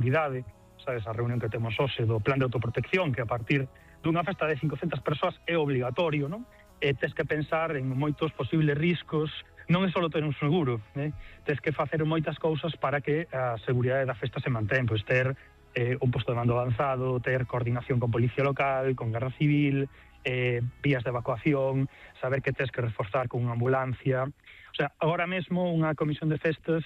seguridade, sabes, a reunión que temos hoxe do plan de autoprotección, que a partir dunha festa de 500 persoas é obligatorio, non? E tes que pensar en moitos posibles riscos, non é só ter un seguro, tes que facer moitas cousas para que a seguridade da festa se mantén, pois ter un posto de mando avanzado, ter coordinación con policía local, con Garda Civil, vías de evacuación, saber que tes que reforzar con unha ambulancia. O sea, agora mesmo unha comisión de festas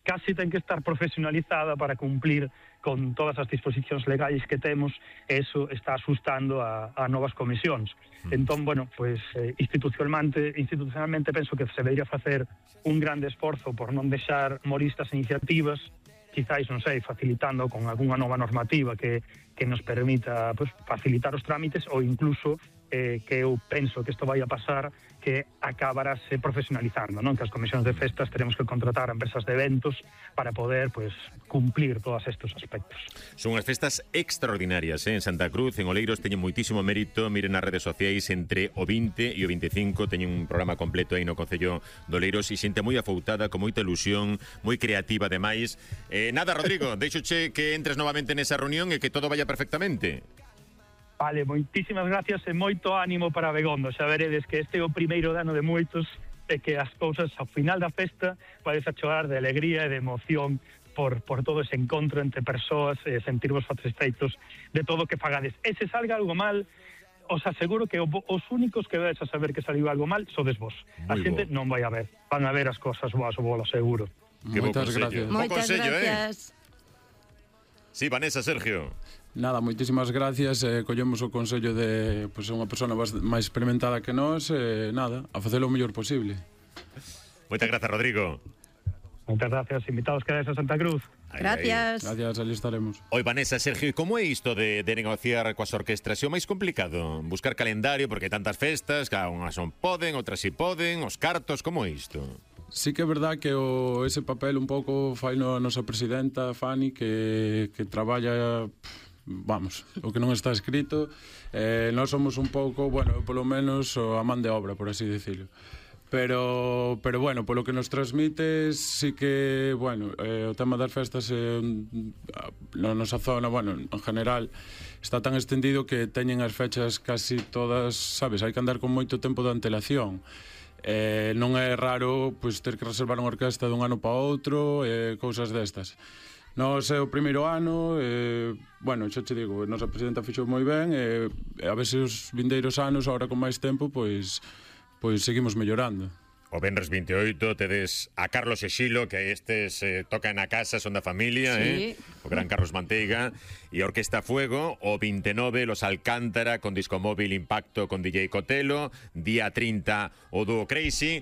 casi ten que estar profesionalizada para cumplir con todas as disposicións legais que temos, e eso está asustando a novas comisións. Entón, bueno, pues institucionalmente penso que se debería facer un grande esforzo por non deixar morir estas iniciativas, quizáis, non sei, facilitando con algunha nova normativa que nos permita pues, facilitar os trámites, ou incluso que eu penso que isto vai a pasar, que acabarase profesionalizando, non? Que as comisións de festas teremos que contratar a empresas de eventos para poder pues, cumplir todos estes aspectos. Son unhas festas extraordinarias, en Santa Cruz, en Oleiros, teñen moitísimo mérito. Miren nas redes sociais, entre o 20 e o 25 teñen un programa completo aí no Concello de Oleiros, e xente moi afoutada, con moita ilusión, moi creativa ademais. Nada, Rodrigo, deixoche que entres novamente nesa reunión e que todo vaya perfectamente. Vale, moitísimas gracias e moito ánimo para Begondo. Xa veredes que este é o primeiro ano de moitos, e que as cousas ao final da festa vais a chorar de alegría e de emoción por todo ese encontro entre persoas, e sentirvos satisfeitos de todo o que fagades. E se salga algo mal, os aseguro que os únicos que vais a saber que saliu algo mal sodes vos. A xente non vai a ver, van a ver as cosas boas, o vos lo aseguro. Moitas gracias. Moitas gracias. Sí, Vanessa, Sergio. Nada, moitísimas gracias. Collemos o consello de unha persona máis experimentada que nós, nada, a facelo o mellor posible. Moitas grazas, Rodrigo. Moitas gracias, invitados que a Santa Cruz. Gracias. Gracias, ali estaremos. Oi, Vanessa, Sergio, como é isto de negociar coas orquestras? É o máis complicado? Buscar calendario, porque hai tantas festas, cada unhas non poden, outras si poden, os cartos, como é isto? Sí que é verdad que ese papel un pouco fai a nosa presidenta, Fanny, que traballa... Vamos, o que non está escrito, nós somos un pouco, bueno, polo menos a man de obra, por así decirlo. Pero bueno, polo que nos transmite, sí que, bueno, o tema das festas na nosa zona, bueno, en general, está tan extendido que teñen as fechas casi todas, sabes, hai que andar con moito tempo de antelación. Non é raro pois, ter que reservar unha orquesta dun ano para outro, cousas destas. Nos é o primeiro ano, bueno, xa te digo, a nosa presidenta fixou moi ben, a ver se os vindeiros anos, agora con máis tempo, pois seguimos mellorando. O Venres 28 tedes a Carlos e Xilo, que estes tocan na casa, son da familia, sí. O gran Carlos Manteiga, e a Orquesta Fuego. O 29 Los Alcántara con disco móvil Impacto con DJ Cotelo. Día 30 o dúo Crazy.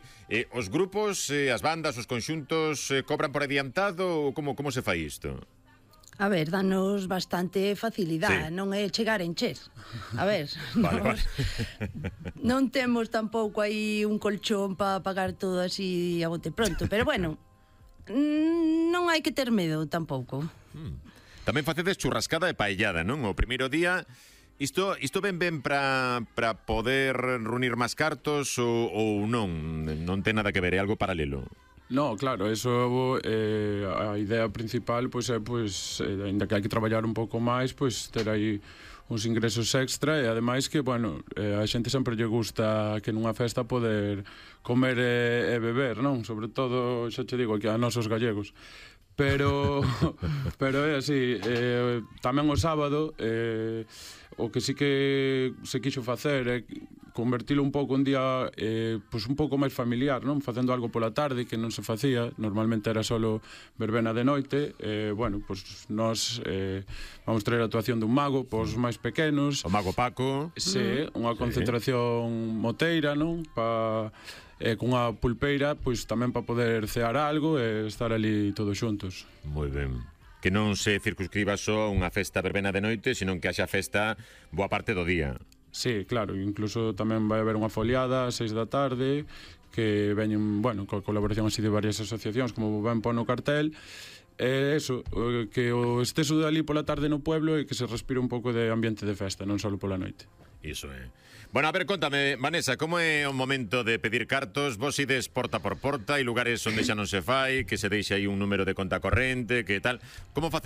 Os grupos, as bandas, os conxuntos cobran por adiantado ou como se fai isto? A ver, danos bastante facilidade, sí. Non é chegar a encher. A ver, vale. Non temos tampouco aí un colchón para pagar todo así a bote pronto, pero bueno, non hai que ter medo tampouco. Tamén facedes churrascada e paellada, non? O primeiro día, isto ben para poder reunir máis cartos ou non? Non ten nada que ver, é algo paralelo. No, claro, eso a idea principal pois é ainda que hai que traballar un pouco máis, pois ter aí uns ingresos extra, e ademais que, bueno, a xente sempre lle gusta que nunha festa poder comer e beber, non? Sobre todo, xa te digo, que a nosos gallegos. Pero é así, tamén o sábado o que sí que se quixo facer é convertilo un pouco un día pois un pouco máis familiar, non? Facendo algo pola tarde que non se facía, normalmente era solo verbena de noite. Bueno, pois nós vamos traer a actuación dun mago pos máis pequenos. O mago Paco. Sí, unha concentración moteira, non? Con unha pulpeira, pois tamén para poder cear algo e estar ali todos xuntos. Moi ben. Que non se circunscriba só unha festa verbena de noite, senón que haxa festa boa parte do día. Sí, claro, incluso tamén vai haber unha foliada ás 6 da tarde que veñen, bueno, coa colaboración así de varias asociacións, como ben pon no cartel, Eso, que o esteso de ali pola tarde no pueblo e que se respire un pouco de ambiente de festa, non só pola noite. Iso é. Bueno, a ver, contame, Vanessa, como é o momento de pedir cartos? Vos ides porta por porta, hai lugares onde xa non se fai, que se deixa aí un número de conta corrente, que tal? Como facedes